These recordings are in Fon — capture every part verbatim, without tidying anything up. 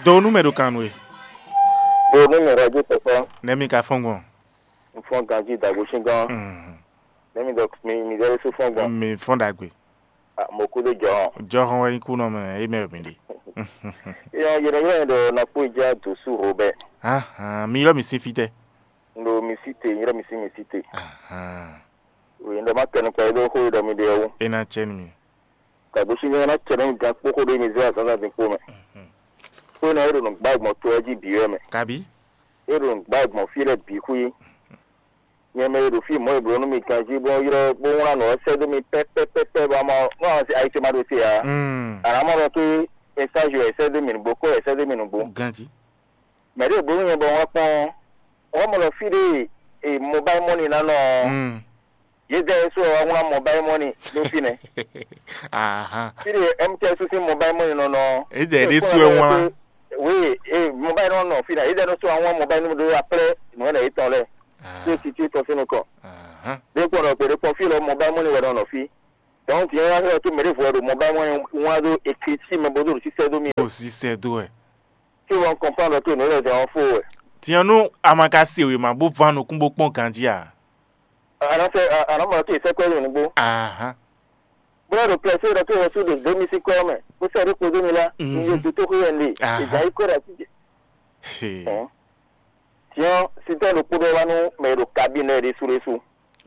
Do nú mɛ ɖo kan nú we. Do nú mɛ ɖo ajé tɔkpá. Nɛ́ mi ka fɔ́n gbɔn? Un fɔ́n ganjí dagbo sín gán. Mhm. Nɛ́ mi ɖɔ mi mi ɖɔ ɖésú fɔ́n gbɔn? Mi fɔ́n ɖagbe. Ah, mo kú dó jɔ. Jɔhɔn wɛ nyí kú nɔ mɛ, é mɛ mi ɖe. Yɔ yɛrɛ yɛrɛ ɖɔ na kpó ja dǒsú Robert. Ahan, mi ylɔ́ mi sín fítɛ́? Un ɖo mi sí te, un ylɔ́ mi sín mi sí te. Ahan. Oui, un ɖɔ má kɛ nukɔn e ɖó xó e ɖɔ mi ɖe ɔ́ wú. É ná cɛ nú mi. Ka gosín nyɔ́ ná cɛ nú mi gán kpó xó ɖé mi zé azǎn zán dín kpó mɛ. Mhm. Xó énɛ́ e ɖo nǔgbá gbɔn to ɔ́ jí bǐ wɛ mɛ. Kabí? E ɖo nǔgbá gbɔn fí lɛ́ɛ bǐ xwí. Nyɛ mɛ e ɖo fí mɔ̌ e bló nú mi ganjí bó ylɔ́ bó wlán nǔ ɔ́ sɛ́ dó mi pɛ́pɛ́pɛ́pɛ́ bɔ a ma nú ayitoma ɖo te ǎ. Mm. A nǎ mɔ ɖɔ ké mɛsázi wɛ è sɛ́ dó mi nǔgbó, kó wɛ è sɛ́ dó mi nǔgbó. Ganjí. Mɛ ɖě bló nú nyɛ bɔ un wá kpɔ́n ɔ́, wá mɔ ɖɔ fí ɖé e mobile money ná nɔ ɔ́, Mm. yědɛɛ é sú wɛ wá wlán mobile money ɖó fínɛ́. Ahan. Fí ɖé M T S sín mobile money nɔ nɔ ɔ́, Yědɛɛ é ɖésú kpɔ́n wɛ wlán. Oui, e mobile nɔ nɔ fínɛ́, yědɛɛ é sú wá wlán mobile nɔ ɖó aprɛ́ nǔ ɛnɛ yětɔn lɛ́ɛ. Ah. Tó títí tɔn sín nukɔn. Ahan. Ɖé kpɔ́n ɖɔ gbeɖé kpɔ́n fí lɔ mobile money wɛ nɔ nɔ fí. Donc, din ɔ́, é ná xlɛ́ tó mɛ ɖěvo wɛ ɖo mobile money wlán ɖó écriture mɛ bó ɖo ɖo sísɛ́ dó mì. Bó sísɛ́ dó wɛ. Tí wọ́n kɔnpándɔ tó nǔ lɛ́ɛ zɛ ɔ́ fó wɛ. Tiɲɔ nú a ma ka se wěma bó ván nukún bó kpɔ́n ganjí a? Anɔsɛ anɔmɔ tó sɛkpɛ yě nugbo. Ahan. Bóyá ɖo plɛsɛ ɖɔ tó wɔ sú ɖo dó mi sí kɔ mɛ, bó sɛ ɖó kpodó mi la, Mhm. ní yé dó tó xó yɛ lé, Ahan. Ìjà yí kó ɖa jíjẹ. He. Tiɲɔ sítɔ ɖokpó ɖɔ wá nú mɛ e ɖo kabíne ɖésú ɖésú.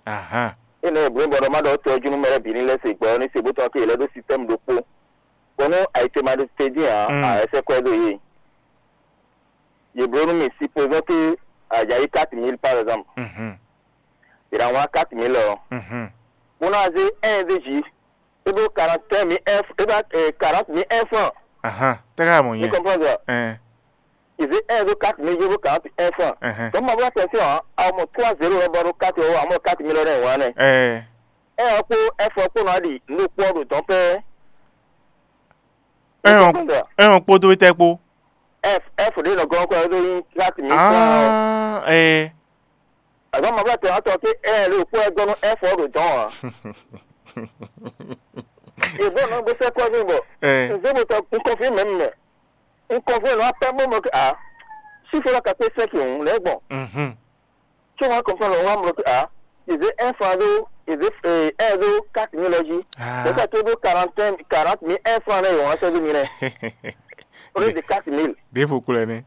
Ahan. Énɛ́ e blǒ bɔ ɖɔ má ɖɔ tɔjú nú mɛ lɛ́ɛ bǐ ní lɛ́ se gbɔ ɔ́ ní se bó tɔn ké yě lɛ́ ɖó système ɖokpó. Bɔ nú ayǐtéma ɖo te dín ǎ, Mm. a wɛ sɛ́ kwɛ́ dó yě. Yě bló nú mì, supposons que a jǎ yí quatre mille par exemple. Mhm. Yě ná wlán quatre mille ɔ́. Mhm. Bó ná zé un ɖé jí, é bló quarante mille un, é bló quarante mille un franc. Ahan. Tɛ́ ká mɔ Vous nyɛ? Comprenez ça? Ɛn. Ils étaient un zéro quatre mille zéro quarante un francs. Ɛhɛn. Donc, ma voix attention, hein, à mon trois zéro, on va au quatre euros, à mon quatre mille euros, ouais, né. Ɛɛ. Un ɔ́ kpó F ɔ́ kpó nɔ ɖi nú kpó ɖo dɔn pɛ. Ɛn ɔ́, ɛn ɔ́ kpódó tɛ́ kpó? F F ɖé nɔ gɔ́n kɔ ɖó yín quatre mille francs. Ah, ɛɛ. Azɔn ma vlɛ tɔn atɔ ké ɛ ɖo kpó ɛ gɔ́ nú F ɔ́ ɖo dɔn ǎ. Yě bɔ nɔ gbèsè kɔ ní bɔ. Ɛɛ. Nzé mo tɔ nkɔfí mɛ mɛ. Nkɔfí nɔ apɛ mo mɔ ké a. Chiffre la ka kpé cinq hùn lɛ gbɔn. Mhm. Tí wọ́n kàn fún wa mọ̀ pé a, ìdè un franc ɖó, ìdè un ɖó quatre mille lɔ jí. Ah. Lẹ́tà tó ɖó quarante, quarante mille un franc lɛ yìí wọ́n sẹ́dí mi lɛ. Ó lè di quatre mille. Ɖěvo kplɔ́ ɛnɛ.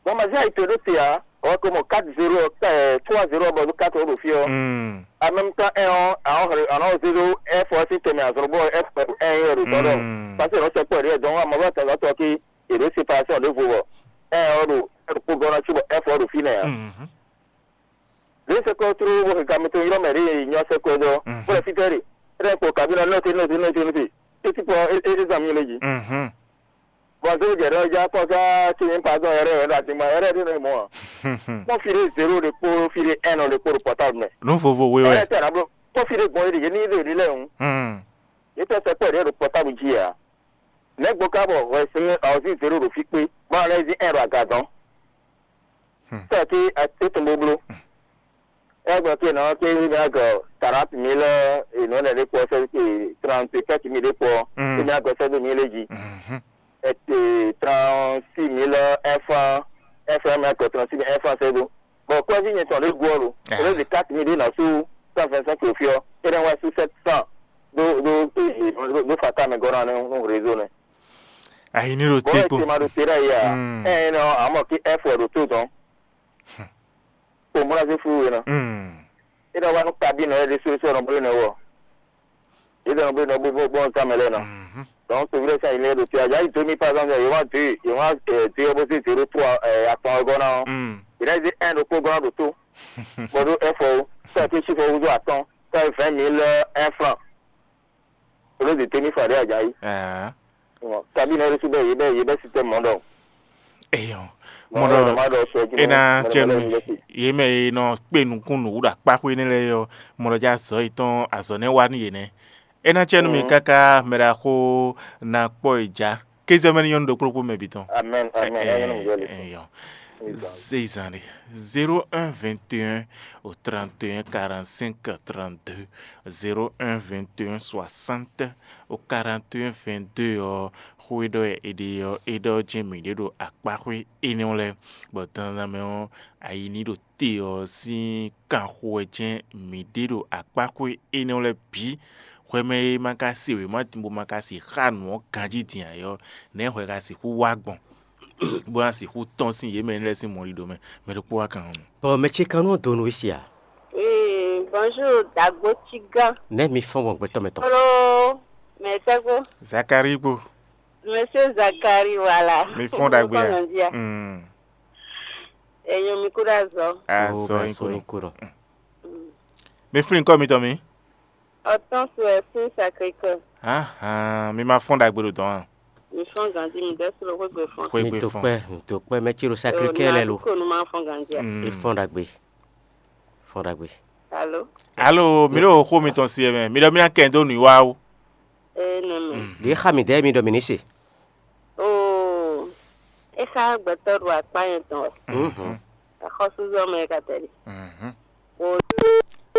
Bɔn mazí àyíké ɖó te a, ɔwɔ ko mɔ quatre zéro, ɛ, trois zéro bɔ ɖó quatre ɖo fí ɔ. Mm. En même temps, un ɔ, àwọn ọ̀rẹ́, àwọn zéro F ɔ sí tẹ̀mí àzọ̀rọ̀ bọ́ F un yẹ ɖo tọ́ dɔ. Mm. Parce que lọ́sẹ̀ pọ̀ rí ẹ̀ dán, àmọ́ bá tàgá tọ́ kí èrè séparation ɖěvo bɔ un ɔ ɖo, ɛ ɖo kpó gɔ́ ná sí bɔ F ɔ ɖo fínɛ́ a. Mhm. Ɖě sɛkɔ tló bó xika mi tó ylɔ́ mɛ ɖě nyɔ sɛkɔ dɔ. Mhm. Bó lɛ fítɛ́ ɖe. Éɖɛ́ kpo kabí ná nɔte nɔte nɔte nɔte. Títí pɔ é é zan mi lé jí. Mhm. Bɔn zéro jɛ ɖɔ ja kɔ ká tí mi pa dɔn yɛrɛ yɛrɛ ati ma yɛrɛ ɖe nɔ mɔ. Kpɔn fi ɖe zéro ɖe kpo fi ɖe un ɖe kpo ɖo portable mɛ. Nu vovo we wɛ. Ɛrɛ tɛ na blo. Kpɔn fi ɖe gbɔn yi ɖe yé ní ɖe ɖi lɛ ŋu. Hmm. Yé tɛ sɛkɔ ɖe ɖo portable jí ya. Nɛgbó ká bɔ hwɛ sin ɔzi zéro ɖo fi kpé. Bɔn alɛ zi un ɖo aga dɔn. Hmm. Sɛ ki é tun bó bló. Ɛ gbɔn ke nɔ ke yi na gɔ quarante mille, e nɔ lɛ ɖe kpɔ sɛ ke trente-quatre mille ɖe kpɔ. Mm. E na gɔ sɛ do mille ji. Mhm. Ɛ te trente-six mille F un, F un mɛ gɔ trente-six mille F un sɛ do. Bon, kɔzi nyɛ tɔn ɖe gu ɔ lo. Ah. Ɛ lɛ de quatre mille ɖe na su cent vingt-cinq le fiɔ. E na wa su sept cents do do do do fata mɛ gɔ na no réseau ne. Ayi ni ɖo bon, te kpo. Ɛ te ma ɖo te ɖe ya. Mm. Ɛ nɔ amɔ ki F un ɖo to dɔn. Kpomlazín fú we ná. Mm. É nɔ wá nú kabí nɔ é ɖésú sɔ́ nɔ bló nɛ wɔ. É nɔ bló nɔ bló bó bó nɔ tán mɛ lɛ́ɛ ná. Mhm. Donc, c'est vrai ça, il est de tu as déjà eu deux mille par exemple, il y aura deux, il y aura euh, deux opposés zéro trois euh, à ton organe. Mm. Il a dit un de programme de tout. Bon, donc, un faut, ça a été chiffre au jour à temps, ça fait vingt mille euh, un franc. Au lieu de tenir Fadé Ajayi. Ah. Bon, kabine reçu bɛ yebɛ yebɛ système mon donc. Eyɔ. Mɔɖɔ ena cɛnu yé mɛ e nɔ kpe nukún nǔ ɖo akpáxwé nɛ́ lɛ́ɛ ɔ́, mɔɖɔ jɛ azɔ̌ yětɔn azɔ̌ nɛ́ wá nú yě nɛ́. Ena cɛnu mi káká mɛ ɖaxó ná kpɔ́ yi já. Kézɔ́ mɛ ní nyɔ́nu ɖokpó ɖokpó mɛ bǐ tɔn. Amen, amen. Eyɔ. Zeyizan ɖe. Zéro un vingt et un au trente et un quarante-cinq trente-deux. Zéro un vingt et un soixante au quarante et un vingt-deux ɔ́. Xó e ɖɔ wɛ è ɖe ɔ́, é ɖɔ jɛ́n mǐ ɖe ɖo akpáxwé énɛ́ lɛ́ɛ, bɔ dandan mɛ ɔ́, ayi ní ɖo te ɔ́ sín kanxo wɛ jɛ́n mǐ ɖe ɖo akpáxwé énɛ́ lɛ́ɛ bǐ. Hwɛ mɛ e ma ka se wěma din bó ma ka sixá nǔ ɔ́ ganjí din ǎ é ɔ́, nɛ̌ hwɛ ka sixú wá gbɔn, bó ná sixú tɔ́n sín yě mɛ lɛ́ɛ sín mɔɖiɖo mɛ? Mɛ ɖokpó wá kan ɔ́. Bɔ mɛ ce kan nɔ dó nú we sia? Oui, bonjour, Dagbo Tigan. Nɛ̌ mi fɔ́n gbɔn gbɛtɔ́ mɛ tɔn? Hello, mɛ sɛgbo. Zakari kpo. Monsieur Zakari, voilà. Mi fɔ́n ɖagbe a? Mm. Enyo mi kúɖo azɔ. Azɔ nyi kúɖɔ. Mi flin kɔ mitɔn mi. Hortense wɛ sín Sacré-Cœur. Ahan, mi ma fɔ́n ɖagbe ɖo dɔn a? Mi fɔ́n ganji, mi dɛ́ slo xwégbe fɔ́n. Xwégbe fɔ́n. Mi dó kpɛ́, mi dó kpɛ́, mɛ ce ɖo Sacré-Cœur lɛ lo. Ko nu ma fɔ́n ganji a? Mm. E fɔ́n ɖagbe. Fɔ́n ɖagbe. Alo? Alo, mi ɖo xó mitɔn si ɛ mɛ. Mi ɖɔ mi ná kɛ dó nǔ wa ó. Ee, nɛ mɛ. Ɖě xa mi dɛ́ mi ɖɔ mi ní se. Oo, é xá gbɛtɔ́ ɖo akpá nyɛ tɔn wɛ. Mhm. Axɔ́súzɔ mɛ ka tɛ́ ɖi. Mhm. O.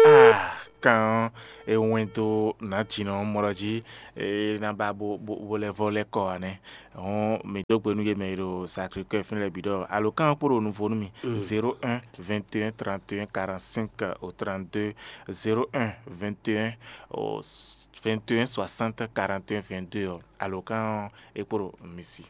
Ah, kan e wɛn dó nǎjínɔ mɔ ɖɔ jí, e ná ba bo bo bo lɛ́ vɔ lɛ́ kɔ ǎ nɛ́. Hɔn mi dó gbe nú yě mɛ e ɖo Sacré-Cœur fínɛ́ lɛ́ɛ bǐ ɖɔ alǒkan ɔ́ kpo ɖo nuvo nú mi. Mm. Zéro un, vingt et un, trente et un, quarante-cinq au trente-deux, zéro un, vingt et un, au vingt et un, soixante, quarante et un, vingt-deux ɔ́, alǒkan ɔ́ é kpo ɖo mi si.